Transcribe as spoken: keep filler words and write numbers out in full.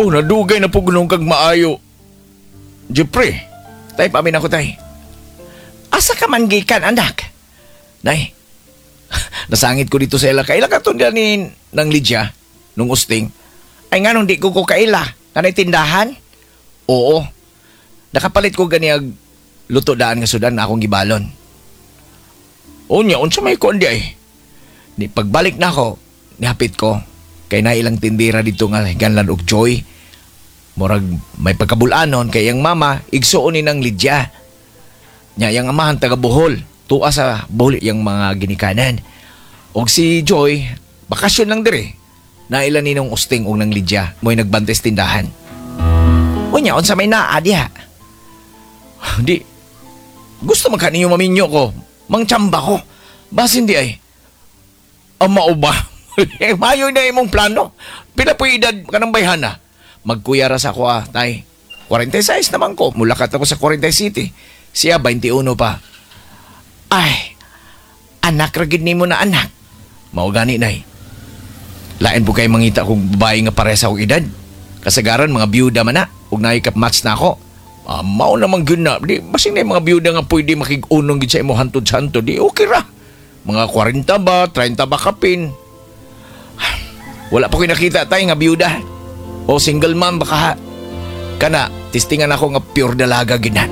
Oh, nadugay na po gunong kag maayo. Jeffrey, tay, pamin ako, tay. Asa ka man gikan, anak? Nay, nasangit ko dito sa ila. Kaila ka to ni ng Lydia, nung usting. Ay nga nung di ko ko kaila. Kanay tindahan? Oo. Nakapalit ko ganiag luto daan nga sudan na akong gibalon. Unya, unsa may kuan di ay? Di pagbalik na ako, nihapit ko. Kay na ilang tindira dito nga ganlan og Joy. Murag may pagkabulanon kay yang mama igsuon ni ng Lydia. Nya yang amahan taga Bohol. Tuwa sa Bohol yang mga ginikanan. Og si Joy, bakasyon lang dire. Naila ni nung usting og nang Lydia, mo'y nagbantes tindahan. Unya, unsa may naa diha? Di, gusto man ka ninyo maminyo ko. Mangtsamba ko. Basin di ay. Ama o ba? Eh, Mayo na imong plano. Pila po edad ka ng bayhana? Magkuya ra sa ako ah, tay. forty-six naman ko. Mulakat ako sa forty City. Siya twenty-one pa. Ay, anak ra gid nimo na anak. Mao gani, nay. Lain po kay mangita kong babae nga pareha sa akong edad. Kasagaran mga byuda man na. Ug naay match na ako. Ah, mao naman gyud na. Di basin na yung mga byuda nga pwede makig-unong gid sa imo hantod sa hantod. Di okay ra. Mga forty ba, thirty ba kapin. Wala pa ko nakita tay nga byuda. O single mom baka. Kana, tistingan ako nga pure dalaga gid na.